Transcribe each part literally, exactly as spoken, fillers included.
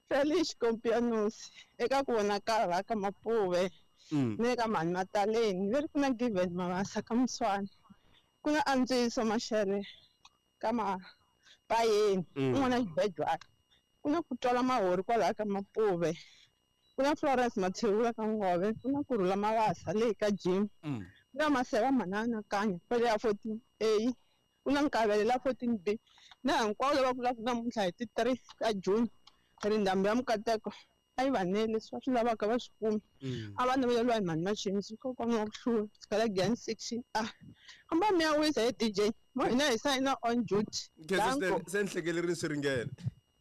Felice Compianos eka ku vonakala ka Mapuve Mm. ni le ka mhani Mataleni leri ku na Given Mabasa ka Muswana ku na Antswiso Maxele ka Mapayeni Mm. un'wana xibedwana ku na ku twala mahori kwalaha ka Mapuve ku na Florence Mathewula ka Ngove ku na Kurhula Mabasa leyi ka Jim Mm. ku na Maseva Manana Kanya kwale ya fourteen A ku na Nkavele la fourteen B na hinkwavo lava vulaka namuntlha hi ti three ta June ri ndhambi ya Mukateko a yi va nele leswi va swi lavaka va swi kumi Mm. a va naveleriwa hi mhani Machinzi kokwana wa ku hlula tshikela Giyani section A famba mi ya wisa he D J mo hina hi sayina on duty Khensa Danko. swinene se ni hlekelerini swi ringene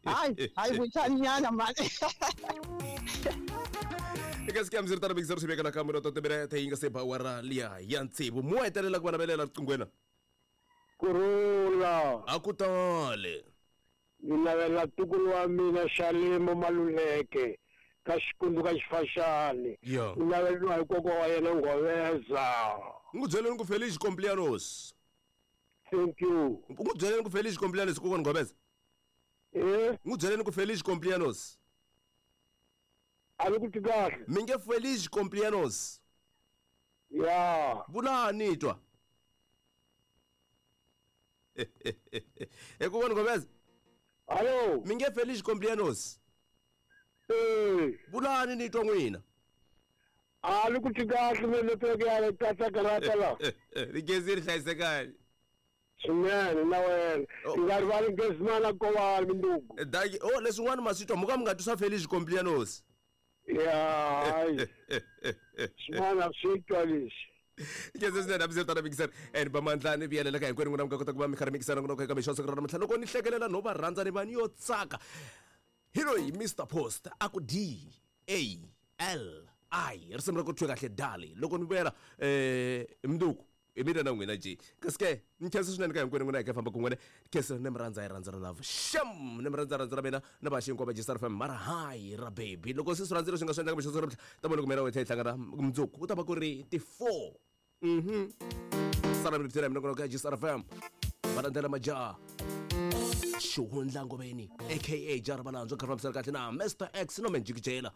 hayi hayi vuchani nyana mani eka siku ya mziri tano mikisero swi veka nakambe no totimirete yi nga se ba awara liya ya tsevu mo hetelela ku va navelela riqinghweni Kurhula a ku tale ni navela ntukulu wa mina Xalimo Maluleke ka Xikundu ka Xifaxani Ya. ni naveleriwa hi kokwa wa yena Nghoveza n'wi byeleni ku Felice Complianos thank you n'wi byeleni ku Felice Complianos kokwana Nghoveza eh n'wi byeleni ku Felice Complianos a ni ku twi kahle mi nge Felice Complianos ya vulani twa e kokwana Nghoveza hallo mi nge Felice Complianos eh vulani ni twa n'wina a ni ku twi kahle me network ya le katsakarata la ri gezi ri hlayisekani swinene na wena Oh. i nga rivali Ngesimana Kovani minduku Daki oh leswin'wana ma swi twa mo ka mi nga twi swa Felice Complianos ya hayi swin'wana swi twa leswi Khensa swinene hambi tana mikisana and vamandla ni vuyelela ka hinkwenu n'wina mi nga kota ku va mi karhi mikisana n'wina eka mixo siku ra namuntlha loko ni hlekelela no va rhandza ni va ni yo tsaka hi loyi Mister Post a ku D A L I risimu ra ku thwe kahle dali loko ni vuyela eh mnduku hi mina na n'wina je kasi ke ni khensa swinene ka hinkwenu n'wina hi ka famba kun'wene khensa ni mi rhandza hi rhandza ra love sham ni mi rhandza rhandza ra mina na vaxi hinkwavo va G Star F M mara hayi ra baby loko se swi rhandzile swi nga swi endlaka mixo siku ra namuntlha ta vona ku mina wethe hi hlangana mundzuku ku ta va ku ri ti four mhm sala mi byela mina ka G Star F M va landzela majaha Xihundla Ngoveni aka Jara Malandzo kha fambisana kahle na Mister X no Menjikijela.